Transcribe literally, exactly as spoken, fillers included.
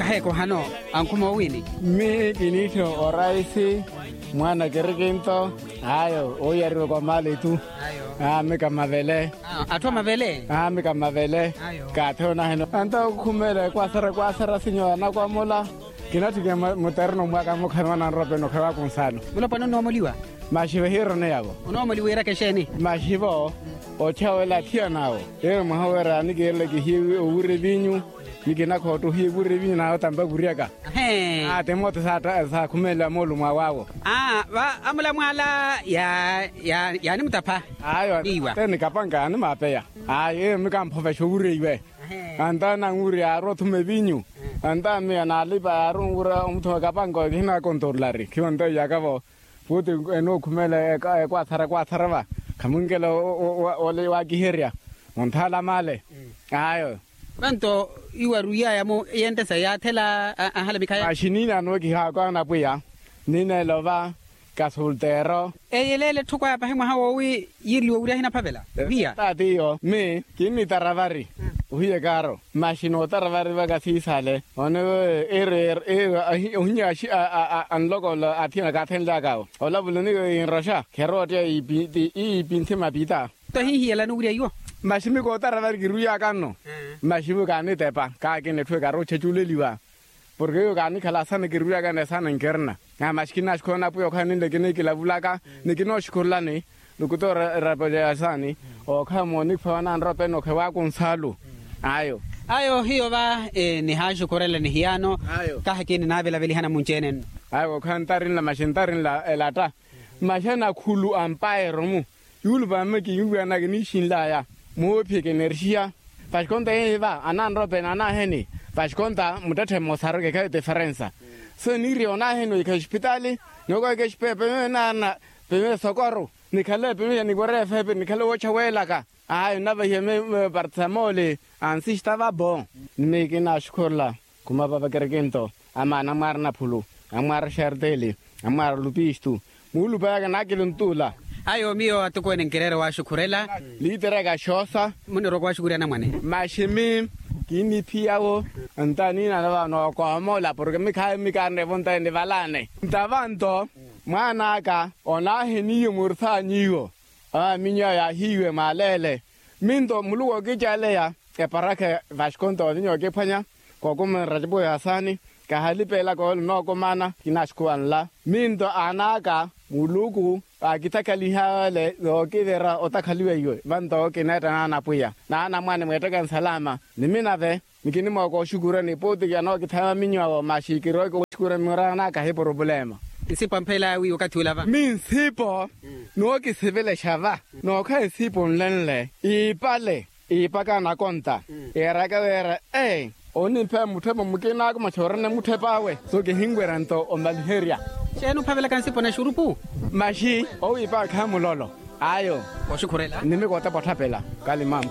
Kaheeko ohano ankhuma owiini? Mmi kiniitthe oraisi mwaana kirikinto. Ayo ooyariwa kwa maali tu. Ayo. Aamika mavele. Atthu amavele. Aamika mavele. Ayo. Kaathi onaheno anta okhumeela ekwasara ekwasara sinyo anakwamola. Kinatthikina mutereno mwaka mukhanwana nrope nokhala wakunsaano. Mulopwana onoomoliwa. Maxivo hiirone yavo. Onoomoliwa iiraka exeeni? Maxivo otthyawela athiyan'awo. Ero mwaha wira nikiirele kihiye owura evinyu. Nikinakhotta ohiye owura evinyu nawe otampa kuryaka. Atimoote saakhumelela moolumo awawo. Aa va amulamwaala. Yaanimutapha. Ayo. Te nikapanka animaapeya. Ayo eyo mikamphovexa owura iwe. Anta nanwurya yaarowa othuma evinyu. Anta miyo naalipa yaarowa onwura omuthuma kapanka oyo kihinakontorolari khiyo anta iyakavo. Puuti enookhumela ekwaathara ekwaathara va khamunkela. Ole waakiherya onthaala maale. Ayo. Vanto iwaru iyaya-mo eyentesa yaathela. Ahala mikhaya. Maxi niinaano kihaako anapwiya. Niineela ova kasolteero. Eyeleele etthu kwaya pahi mwaha woowi yiireliwa owurya ahinaphavela. Ohiya. Taatiyo mi kinnitaravari. Ohiya ekaaro. Maxi nootaravari vaka siisale one. Ero ero ohinya anlokolo athiyana kaathenlyakawo olavula niyo yinroxa kherootteya. Iipinthi mapita. Tohinhiyelani owurya iwo. Maxi mi kootaravari kiruyaka nno. Maxi vu kaanitepa kaakina etthu ekarootchaculeliwa. Porke eyo kaanikhala asaana kiruyaka ni asaana nkerna. Aa maxi kinaaxukhula onapwiya okhala ninle kinikilavulaka ni kinooxukhulani. Nikutoora erapo ja asaani. Okhala moonikhwa wananrope nokhala waakunsaalu. Ayo. Ayo hiyo va nihaaxukhurela nihiyaano. Kahi kininaavelaveliha namunci-ene nno. Ayo okhala ntarinla maxi ntarinla elatta. Maxi anakhulu ampaero-mu. Yuulupa mma kiwuwiyanaka niixinlaya. Moophiyeke enerxiya. Vaxikonta yeeyi va ananrope naanaheni. Vaxikonta muttetthe mmosaru kekhayi tiferensa. So niiriya onaheni oikha oxipitaali. Nookoweka exipepe meyo naarina. Peme sokoru. Nikhale peme ya nikorefepe nikhale woocha weelaka. Ayo nnavehiya meyo partisamole. Ansista vabo. Ni miyo kinaaxukhurela. Khumapa vakirikinto. Amaana amwaara naphulu. Amwaara xerteli. Amwaara lupistu. Muulupayaka naakili ontuula. Ayo miyo atukuwene nkireera owaaxukhurela. Liiteraka xoosa. Munirowa owaaxukhurya anamwane. Maxi mi kinniphiyawo. Nta niinano vano koomola porke mikhayi mikaarina evontaye nivalaane nta vanto. Mwaan'aka onaahi niiwo muuruthaanyiwo. Awa minyu ayo yaahiiwe mwaaleele. Minto muluku ookicaleya eparakha. Vaxikonto ovinyu ookiphwanya kookumanra cipo ya asaani. Kahalipelaka ole onookumana kinaaxukuwa nla. Minto aan'aka muluku aakitakhaliha ole yookivira otakhaliwa iwe vanto kineetta naanapwiya naanamwane mweettaka nsalama. Ni minave nikinimooka oxukurani puuti kiyanookithaya maminyu awo maxi kirooki oxukura miraanaka hi purupulema. Nsipo amphela wiiwa okathi ula va. Mi nsipo nookisivelexa va nookhala nsipo nlenle iipale iipaka anakonta. Eeraka wira ee onimpheya mutthepa mukinaku maxi orina mutthep'awe. So kihinwerya nto omaliherya. Xeeni ophavelaka nsipo na xurupu. Maxi owiipaka khayi mulolo. Ayo. Oxukhurela nimikootapa otthapela kalimampu.